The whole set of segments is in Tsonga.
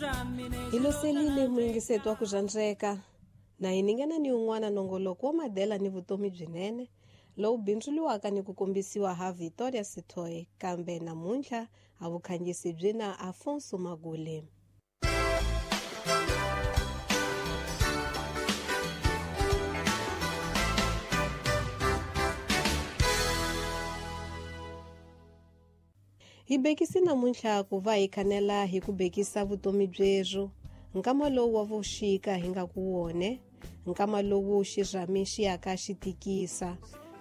Hi loselile muyingiseti wa ku rhandzeka na hi ningana ni un'wana nongoloko wa madela ni vutomi byinene lowu bindzuriwaka ni ku kombisiwa ha Victoria Sithoe, kambe namuntlha a vukhangisi byi na Afonso Magule. Hi bekisi namuntlha ku va hi khanela hi ku bekisa vutomi byerhu nkama lowu wa vuxika hi nga ku wone, nkama lowu xirhami xi yaka xi tikisa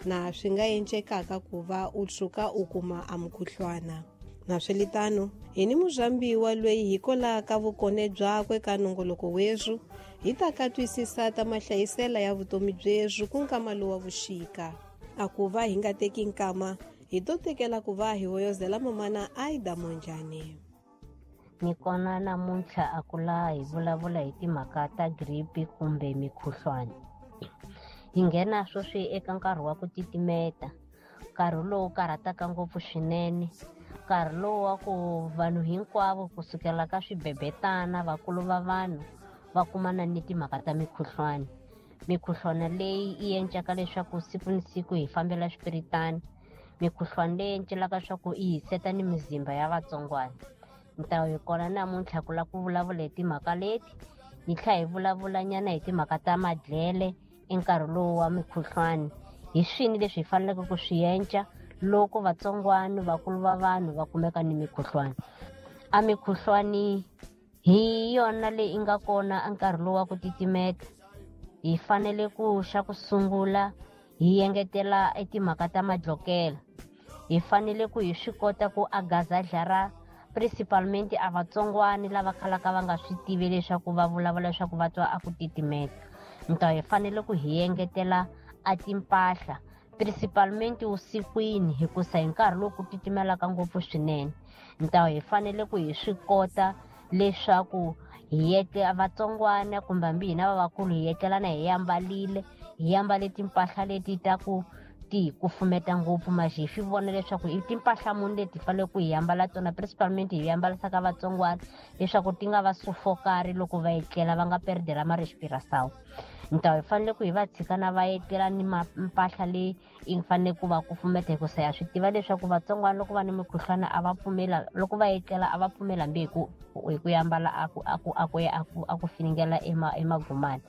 na swi nga encekaka ku va u tshuka u kuma a mukhuhlwana. Na swilitano hi ni murhambiwa loyi hi kolaka vukone byakwe ka nongoloko werhu hi ta ka twisisa ta mahlayisela ya vutomi byerhu ku nkama lowu wa vuxika. A ku va hi nga teki nkama hi to tekela ku va hi hoyozela mamana Aida Monjane. Ni kona namuntlha a ku laha hi vulavula hi timhaka ta gripi kumbe mikhuhlwani. Hi nghena sweswi eka nkarhi wa ku titimeta, nkarhi lowu karhataka ngopfu swinene, nkarhi lowu wa ku vanhu hinkwavo kusukela ka swibebetana, vakulu va vanhu va kumana ni timhaka ta mikhuhlwani. Mikhuhlwana leyi yi encaka leswaku siku ni siku hi fambela swipiritani, mikhuhlwani leyi encelaka leswaku yi hiseta ni mizimba ya vatsongwana. Ni ta hi kona namuntlha ku lava ku vulavula hi timhaka leti, hi tlhela hi vulavula nyana hi timhaka ta madlele enkarhi lowu wa mikhuhlwani. Hi swini leswi hi faneleke ku swi enca loko vatsongwana, vakulu va vanhu va kumeka ni mikhuhlwani. A mikhuhlwani hi yona leyi nga kona enkarhi lowu wa ku titimeta. Hi fanele ku xa ku sungula hi engetela etimhaka ta madlokela. Hi fanele ku hi swi kota ku agazadlara principalmente a vatsongwani lava khalaka va nga swi tivi leswaku va vulavula leswaku va twa a ku titimeta. Nta hi fanele ku hi engetela a timpahla principalmente usikwini, hikusa hi nkarhi lowu ku titimelaka ngopfu swinene. Nta hi fanele ku hi swi kota leswaku hi etlela vatsongwana kumbe hambi hina lavakulu hi etlelana hi ambarile, hi ambale timpahla leti ta ku ti kufumeta ngopfu, maxi hi swi vona leswaku i timpahla muni leti fanele ku hi ambala tona, principalmente hi ambarisaka vatsongwana leswaku ti nga va sufokari loko va etlela, va nga perdela ma-respiração. Nta hi fanele ku hi va tshika na va etlela ni mpahla leyi yi fanele ku va kufumeta, hikusa ya swi tiva leswaku vatsongwana loko va ni mikhuhlwana a va pfumela, loko va etlela a va pfumeli hambi hi ku ambala a ku finingela emagumani.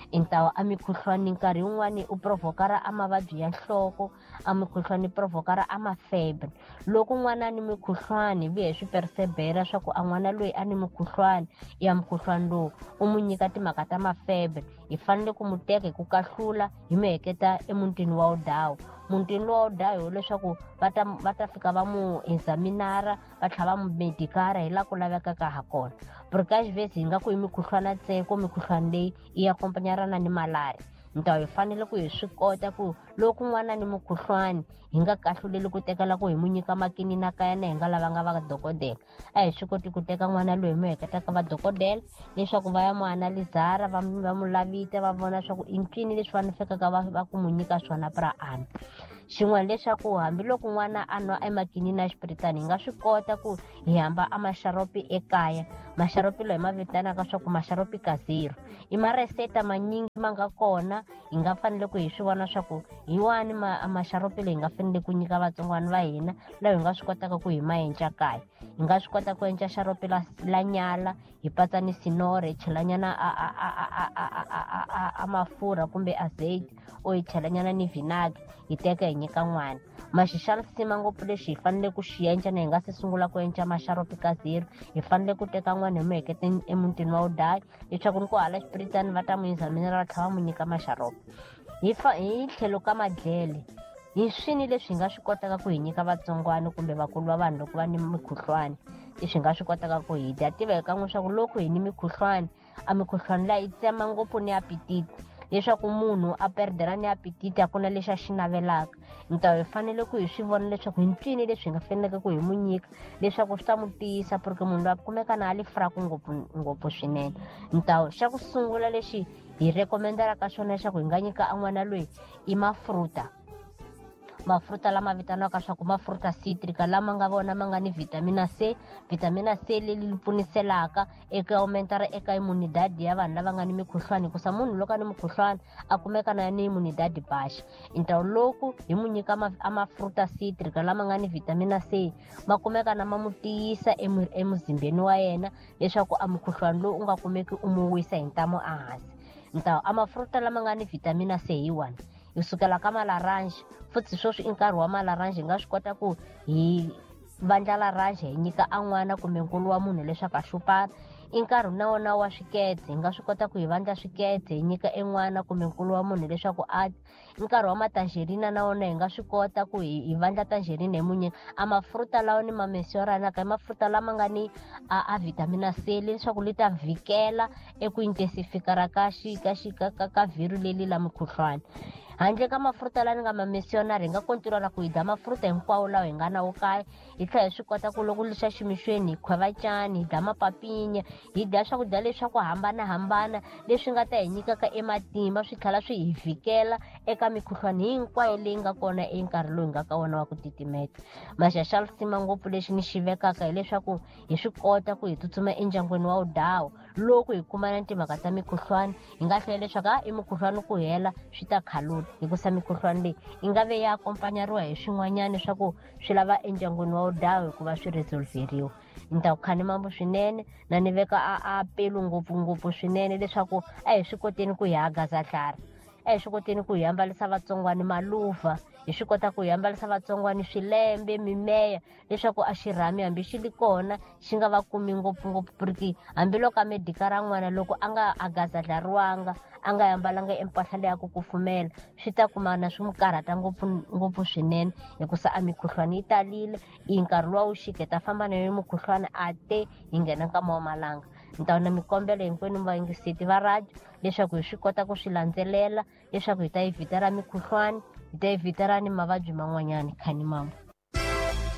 Ntawo a mikhuhlwani nkarhi wun'wani u provokara a mavabyi ya nhloko, a mikhuhlwani provokara a mafebre. Loko n'wana ni mikhuhlwani vuya hi swi persevera swa ku a n'wana loyi a ni mikhuhlwani ya mukhuhlwani lowu u n'wi nyika timhaka ta mafebre, hi fanele ku n'wi teka hi ku kahlula hi n'wi heketa emutini wa Odawu. Mutini lowa Odawu hileswaku va ta fika va n'wi examinara, va tlhela va n'wi medikara hi laha ku lavekaka ha kona. Porque às vezes hi nga ku hi mikhuhlwana ntsena, mikhuhlwani leyi yi akompanyarana ni malaria. Ntawo hi fanele ku hi swi kota ku loko n'wana ni mukhuhlwani hi nga kahluleli ku tekela ku hi n'wi nyika makinina kaya na hi nga lavanga va dokodela. A hi swi koti ku teka n'wana loyi hi n'wi heketaka va dokodela leswaku va ya n'wi analizara, va n'wi lavita, va vona leswaku i ncini leswi va fikaka va ku n'wi nyika swona pra ana. Xin'wana leswaku hambiloko n'wana a nwa emakinini ya xipiritani, hi nga swi kota ku hi hamba a maxaropi ekaya. Maxaropi loyi ma vitanaka swa ku maxaropi ka zero. I mareseta manyingi ma nga kona, hi nga fanele ku hi swi vona swa ku hi wani maxaropi leyi hi nga fanele ku nyika vatsongwana va hina, laha hi nga swi kotaka ku hi ma enca kaya. Hi nga swi kota ku enca xaropi la nyala, hi patsa ni sinore, hi chelanyana a mafurha kumbe azeiti, o hi chelanyana ni vinagre, hi teka hi nyika n'wana. Maxi xa risima ngopfu lexi hi fanele ku xi enca na hi nga se sungula ku enca maxaropi ka zero, hi fanele ku teka n'wana hi n'wi heketa emutini wa Odayi leswaku ni ku hala xipiritani va ta n'wi examinara va tlhela va n'wi nyika maxaropi. Hi tlhelo ka madlele, hi swini leswi hi nga swi kotaka ku hi nyika vatsongwana kumbe vakulu va vanhu loko va ni mikhuhlwani, leswi hi nga swi kotaka ku hi dya. Tiva hi kan'we swa ku loko hi ni mikhuhlwani, a mikhuhlwani liya yi tsema ngopfu ni apetite, leswaku munhu a perdela ni apetite, a ku na lexi a xi navelaka. Ntawo hi fanele ku hi swi vona leswaku hi ncini leswi hi nga faneleke ku hi n'wi nyika leswaku swi ta n'wi tiyisa, porque munhu loyi a kumeka na a li fraku ngopfu ngopfu swinene. Ntawo xa ku sungula lexi hi recommendaka xona leswaku hi nga nyika a n'wana loyi i mafruta. mafruta lama vitaniwaka swa ku mafruta citrica lama nga vona ma nga ni vitamina C. Vitamina C leyi pfuniselaka eka aumentara eka immunidade ya vanhu lava nga ni mikhuhlwani, hikusa munhu loko a ni mukhuhlwani a kumeka na ni immunidade baixa. Então loko hi mu nyika a mafruta citrica lama nga ni vitamina C, ma kumeka na ma mu tiyisa emuzimbeni wa yena leswaku a mukhuhlwani lowu u nga kumeki u mu wisa hi ntamu a hansi. Então a mafruta lama nga ni vitamina C hi wona hi sukela ka malaranje. Futhi sweswi i nkarhi wa malaranje, hi nga swi kota ku hi vandla laranje hi nyika a n'wana kumbe nkulu wa munhu leswaku a hlupana. I nkarhi na wona wa swikete, hi nga swi kota ku hi vandla swikete hi nyika en'wana kumbe nkulu wa munhu leswaku a i nkarhi wa matangerina na wona hi nga swi kota ku hi vandla tangerina hi munyika. A mafruta lawa ni ma mentionaka i mafruta lama nga ni a vitamina C leswaku li ta vhikela eku intensifikara ka ka vhiru leli la mukhuhlwani. Handle ka mafruta lawa ni nga ma mentionari, hi nga kontinuara ku hi dya mafruta hinkwawo lawa hi nga na wo kaya, hi tlhela hi swi kota ku loko lixa ximixweni hi khweva cani, hi dya mapapinya, hi dya swakudya leswi swa ku hambanahambana leswi nga ta hi nyikaka ematimba, swi tlhela swi hi vhikela eka mikhuhlwani hinkwayo leyi nga kona enkarhi lowu hi nga ka wona wa ku titimeta. Maxa xa lisima ngopfu lexi ni xi vekaka hileswaku hi swi kota ku hi tsutsuma endyangwini wa wudawo loko hi kumana timhaka ta mikhuhlwani, hi nga hlela leswaku i mukhuhlwani ku hela swi ta khaluta, hikusa mikhuhlwani leyi yi nga ve ya akompanyariwa hi swin'wanyana swa ku swi lava endyangwini wa wudawo hikuva swi resolveriwa. Ni ta ku khani mambo swinene na ni veka a pelu ngopfungopfu swinene leswaku a hi swi koteni ku hi hagaza dlara, a hi swi koteni ku hi ambarisa vatsongwani maluva, hi swi kota ku hi ambarisa vatsongwani swilembe, mimeya, leswaku a xirhami hambi xi li kona xi nga va kumi ngopfungopfu, porque hambiloko a medika ra n'wana loko a nga agazadlariwanga, a nga ambalanga empahla leyi ya ku kufumela, swi ta kumana swi n'wi karhata ngopfungopfu swinene, hikusa a mikhuhlwani yi talile. I nkarhi luwa wu xika hi ta famba na yona mukhuhlwani a te hi nghena nkama wa malanga. Ni ta na mikombelo hinkwenu vayingiseti va radio leswaku hi swi kota ku swi landzelela leswaku hi ta yi vhitara mikhuhlwani, hi ta yi vhitara ni mavabyi man'wanyana. Khani mambo.